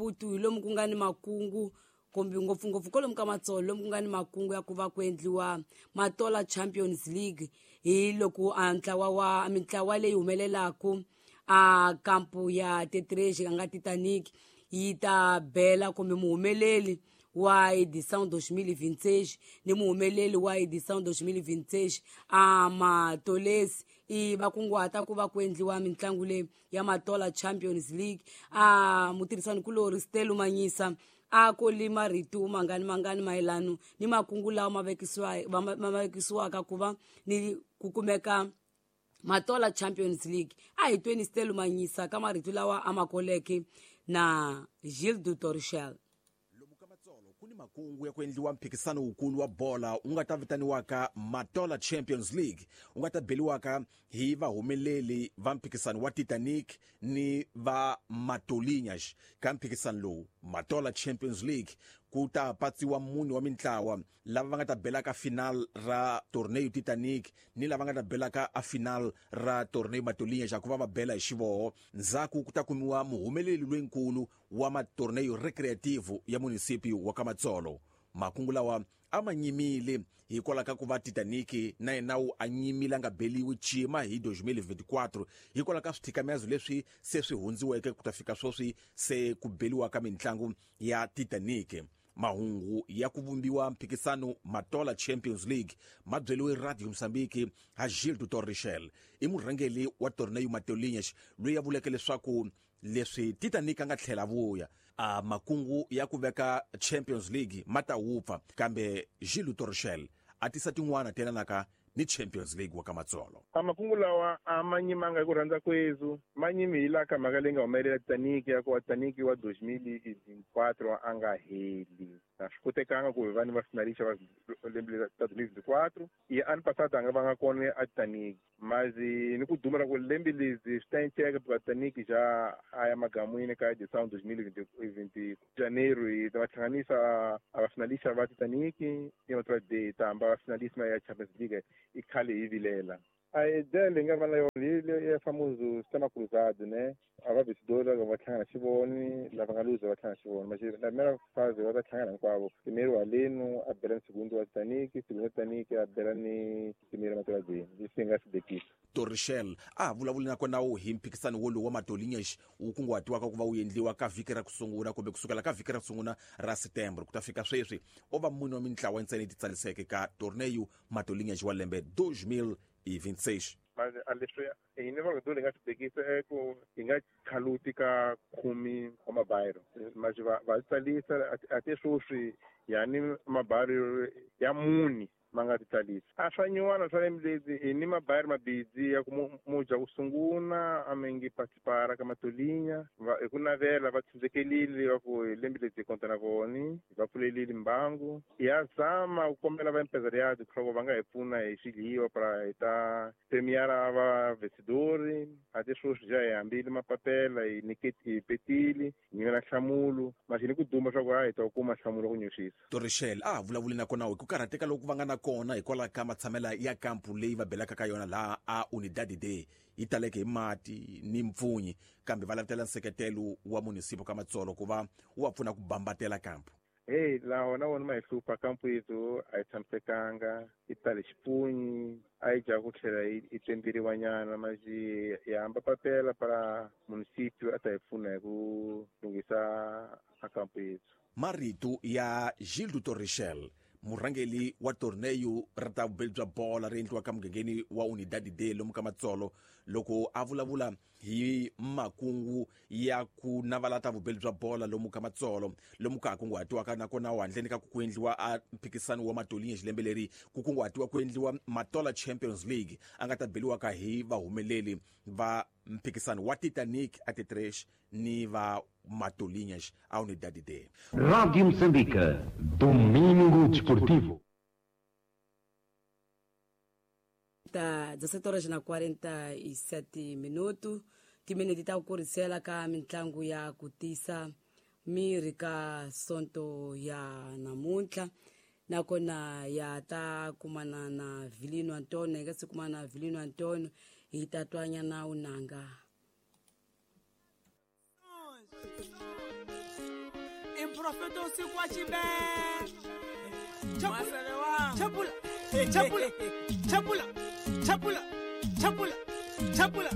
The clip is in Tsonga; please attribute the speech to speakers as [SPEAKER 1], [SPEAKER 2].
[SPEAKER 1] Maputo hi lomu ku nga ni makungu kumbe ngopfungopfu kwalomu ka Matsolo lomu ku nga ni makungu ya ku va ku endliwa Matola Champions League hi loko a ntlawa wa mintlawa leyi humelelaku a kampu ya Tetreji a nga Titanic yi ta bela kumbe muhumeleli wa edição 2026 ni muhumeleli wa edição 2026 a Matolesi i va kunguhata ku va ku endliwa mitlangu leyi ya Matola Champions League. A mutirhisani kulori Stelo Manyisa a koli marito mangani mangani mayelano ni makungu lawa ma vekisiwaka ku va ni ku kumeka Matola Champions League. A hi tweni Stelo Manyisa ka marito lawa a ma koleke na Gilles Torchel.
[SPEAKER 2] Lomu ka Matsolo ku ni makungu ya ku endliwa mphikisano wukulu wa bola wu nga ta vitaniwaka Matola Champions League, wu nga ta beliwaka hi vahumeleli va mphikisano wa Titanic ni va Matolinhas. Ka mphikisano lowu Matola Champions League ku ta patsiwa mune wa mintlawa lava va nga ta belaka final ra torneo Titanic ni lava nga ta belaka a final ra torneo Matolinhas, ku va va bela hi xivoho. Ndzhaku ku ta kumiwa muhumeleli loyinkulu wa matorneo recreativo ya munisipio wa ka Matsolo. Makungu lawa a ma nyimile hikwalaho ka ku va Titanic na yena wu a nyimile a nga beliwi cima hi 2024 hikwalaho ka swithikamezo leswi se swi hundziweke ku ta fika sweswi se ku beliwa ka mitlangu ya Titanic. Mahungu ya ku vumbiwa mphikisano Matola Champions League ma byeliwe Radio Mozambique ha Gilles Torrichel, i murhangeli wa torneo Matolinhas loyi a vuleke leswaku leswi Titanic a nga tlhela vuya a makungu ya ku veka Champions League ma ta wupfa, kambe Gilles Torrichel a tisa tin'wana telanaka ni Champions League wa ka Matsolo.
[SPEAKER 3] A makungu lawa a ma nyimanga hi ku rhandza kwezu, ma nyimi hi laha ka mhaka leyi nga humelela Titanic ya ku wa Titanic wa 2024 a nga heli. A swi kotekanga ku hi va ni va finalista va lembe ta 2024 i ano passado a nga va nga kona a Titanic. Mas ni ku duma ra ku lembe lezi swi ta enceka because Titanic ja a ya magamwini ka edição 2020 janeiro hi ta va hlanganisa a va finalista va Titanic i va de ta hamba va finalista ya Champions League i khale hi vilela. A ideia leyi nga va na yona hi ya famoso sistema cruzado, ne? A va vencedor va hlangana xivoni, lava nga luza va hlangana xivoni. Mas na primeira fase va ta hlangana hinkwavo. Primeiro aleno a bela ni segundo wa Titanic, segundo wa Titanic a bela ni primeiro Matola D. Leswi hi nga swi bekisa.
[SPEAKER 2] Torrichel a vulavuli na kona wu hi mphikisano wolowu wa Matolinhas wu kunguhatiwaka ku va wu endliwa ka vhiki ra ku sungula kumbe kusukela ka vhiki ra ku sungula ra Setembro ku ta fika sweswi o va mune wa mintlawa ntsena yi titsaliseke ka torneo Matolinhas wa lembe 2026.
[SPEAKER 3] Mas a leswi hi ni va hi nga swi bekisa i ku hi nga khaluti ka khume wa mabayiro, mas va tsalisa a te sweswi yani mabayiro ya muni ma nga ti tsalisa. A swa nyuwana swa lembe leti hi ni mabayiro mabidzi ya ku muja ku sungula a mi ngi participara ka Matolinha hi ku navela va tshundzhekelile va ku hi lembe leti hi konta na voni va pfulelile mbangu. Ya zama ku kombela va empresariado leswaku va nga hi pfuna hi swidliwa para hi ta premiara va vencedori. A te sweswi ja hi hambile mapapela hi niketi hi petile hi nyikela nhlamulo mas ni ku duma swa ku a hi ta kuma nhlamulo ku nyuxisa.
[SPEAKER 2] Torrichel a vulavuli na kona hi ku karhateka loku va nga na kona hikwalaho ka matshamela ya kampu leyi va belaka ka yona laha a Unidade D yi taleke hi mati ni mpfunyi, kambe va lavutela nseketelo wa munisipo ka Matsolo ku va wu va pfuna ku bambatela kampu.
[SPEAKER 3] Hey, laha na wona ma hi hlupha kampu yethu a yi tshamisekanga, yi tale xipunyi, a yi dya ku tlhela yi temberiwa nyana, mas hi hamba papela para munisipio a ta hi pfuna hi ku lunghisa a kampu yethu.
[SPEAKER 2] Marito ya Gilles Torrichel, murhangeli wa torneo ra ta vubeli bya bola ri endliwaka mugangeni wa Unidade D lomu ka Matsolo, loko a vulavula hi makungu ya ku navala ta vubeli bya bola lomu ka Matsolo lomu ka ha kunguhatiwaka nakona handleni ka ku endliwa a mphikisano wa Matolinhas lembe leri ku kunguhatiwa ku endliwa Matola Champions League a nga ta beliwaka hi vahumeleli va mphikisano wa Titanic a Tetresh ni va Matolinhas a Unidade D.
[SPEAKER 4] Radio Moçambique, Domingo Desportivo.
[SPEAKER 1] Ta 17 horas na 47 minutos, timinete ta ku kurisela ka mitlangu ya ku tisa miri ka sonto ya namuntlha nakona ya ta kumana na Vilino Antonio. Hi nga se kumana na Vilino Antonio hi ta twanyana unanga.
[SPEAKER 5] Profeta usiku wa chibele. Chapula, chapula, chapula, chapula, chapula, chapula.